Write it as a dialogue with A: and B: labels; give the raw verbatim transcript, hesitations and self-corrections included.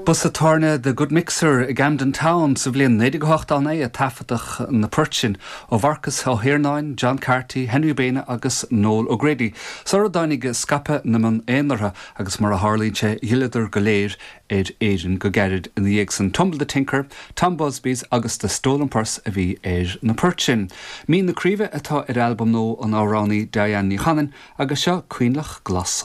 A: Ba sa tábhairne The Good Mixer i Camden Town sa bhliain naoi déag hocht a naoi a taifeadadh na poirt sin ó Mharcas Ó hIarnáin, John Carty, Henry Baina agus Noel O'Grady. Sara dtáinig scaipeadh na meán aonair agus mar a tharlaíonn sé d'fhilleadar go léir ar Éirinn go gairid ina dhiaidh san Tumble the Tinker, Tom Busby's agus The Stolen Purse a bhí ar na poirt sin. Mín na Craoibhe atá ar albam nua an amhránaí Diane Ní Chanainn agus seo Coinleach Glas